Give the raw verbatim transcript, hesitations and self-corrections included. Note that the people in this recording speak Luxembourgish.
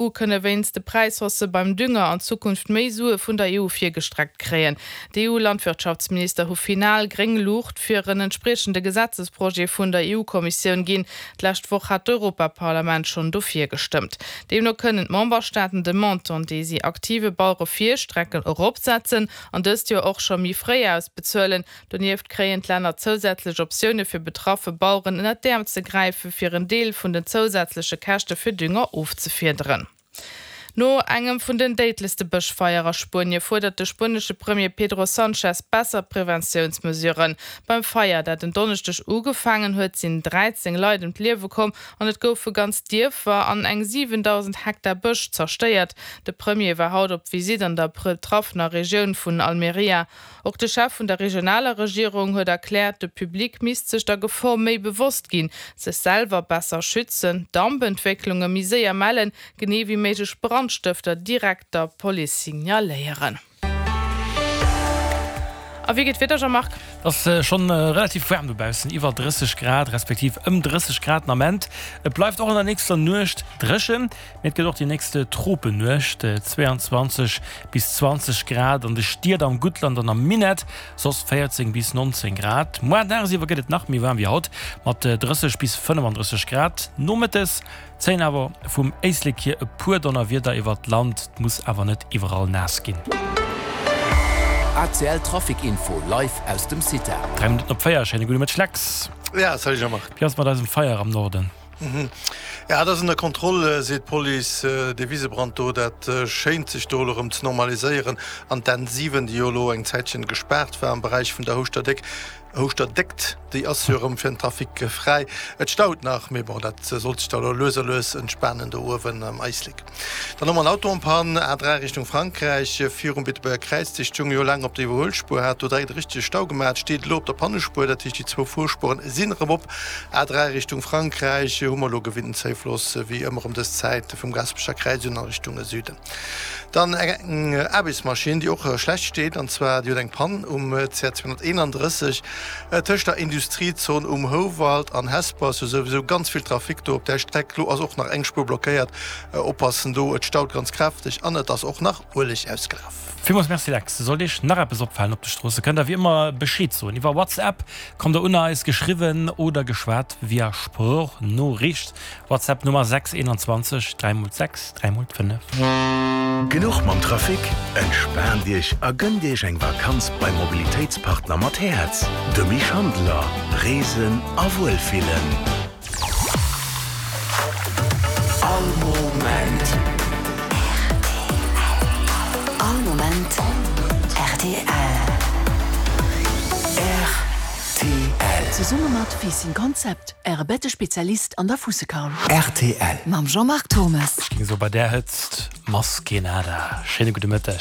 kënne wéinst de Präishaussë beim Dünger an Zukunft méi Sue vun der E U virgestreckt kréien. D'E U-Landwirtschaftsminister hu final gréng Luucht fir en entspriechende Gesetzesprojet vun der E U-Kommissioun ginn. D'lescht Woch hat d'Europaparlament schonn dofir gestëmmt. Deemno kënnen d'Memberstaaten de Montant, dee si aktive Bauere virstrecken, eropsetzen an dëst Joer och scho méi fréi ausbezuelen. Donieft kréien d'Länner zousätzlech Optioune fir betraffe Baueren ënnert d'Äerm ze gräifen, fir en Deel vun den zousätzleche Käschte fir Dünger ofzefiederen. No engem vun den déidlechste Bëschfeier a Spuenie fuerdert de spuenesche Premier Pedro Sánchez besser Preventiounsmesuren. Beim Feier, dat en Donneschdeg ugefaangen huet, sinn dräizéng Leit ëm d'Liewe komm an et goufe ganz Dierfer an eng siwendausend Hektar Bësch zerstéiert. De Premier war haut op Visitt an der betraffener Regioun vun Almeria. Och de Chef vun der regionaler Regierung huet erkläert, de Public misst sech der Gefor méi bewosst ginn, sech selwer besser schützen, Dampentwécklunge méi séier mellen, genee wéi méiglech Brandstëfter direkt der Police signaléieren. A wéi geet d'Wieder, Jean-Marc? Et ass schonn relativ waarm dobaussen, iwwer drësseg Grad, respektiv ëm drësseg Grad den Ament. Et bleift och an der nächster Nuecht dréchen, mee et gëtt och déi nächst Tropennuecht, zwéianzwanzeg bis zwanzeg Grad an de Stied, am Guttland an am Minett soss véierzéng bis nonzéng Grad. Muar dagsiwwer gëtt et nach méi waarm wéi haut, mat drësseg bis fënnefandrësseg Grad. Nomëttes zéien awer vum Éislek hier e puer Donnerwieder iwwert d'Land, et muss awer net iwwerall naass ginn. A C L Trafic Info live aus dem CITA. Dräi Minutten op véier, schéine gudde Mëtteg Lex. Ja, salut Jean-Marc. Wéi ass et mat eisem Feier am Norden? Ja, dat ass ënner Kontroll, seet d'Police. Dee Wisebrand do, dat schéint sech do elo erëm ze normaliséieren. An d'N siwen, déi jo elo eng Zäitchen gespaart war am Beräich vun der Houschter-Déck, Houschter-Déckt, déi ass jo erëm fir den Trafic fräi. Et staut nach, mee bon, dat sollt sech da elo lues a lues entspanen do uewen am Éislek. Dann hu mer en Auto en panne, A dräi Richtung Frankräich, virum Beetebuerger Kräiz. Dee stoung jo laang op der Iwwerhuelspuer, hat do direkt e richtege Stau gemaach, steet elo op der Pannespuer, dat heescht déi zwou Fuerspueren sinn erëm op. A dräi Richtung Frankräich hu mer elo gewinnten Zéifloss, wéi ëmmer ëm dës Zäit, vum Gaasperecher Kräiz un a Richtung Süden. Dann eng Aarbechtsmaschinn, déi och schlecht steet, an zwar déi huet eng Pann um C R zweehonnerteenandrësseg tëscht der Industriezon um Houwald an Hesper. Ass jo souwisou ganz vill Trafic do op där Streck. Lo ass och nach eng Spuer blockéiert. Oppassen do, et staut ganz kräfteg an et ass och nach Ueleg ausgelaf. Villmools Merci Lex. Sollt Iech nach eppes opfalen op de Stroosse, kënnt der wéi ëmmer Bescheed soen. Iwwer WhatsApp kommt der un eis, geschriwwen oder geschwat via Sproochnoriicht. WhatsApp Nummer sechs eenanzwanzeg dräi mol sechs dräi mol fënnef. Genuch mam Trafic? Entspaant Iech a gënnt Iech eng Vakanz beim Mobilitéitspartner mat Häerz, de Mich Schandeler. Reesen a Wuelfillen. All Moment. All Moment rtl. Rtl. Zesumme mat Facing Concept, Äre Bettespezialist an der Fussekaul. Rtl. Mam Jean-Marc Thomes. Ech géing soe bei där Hëtzt, Maskenada. Schéine gudde Mëtteg.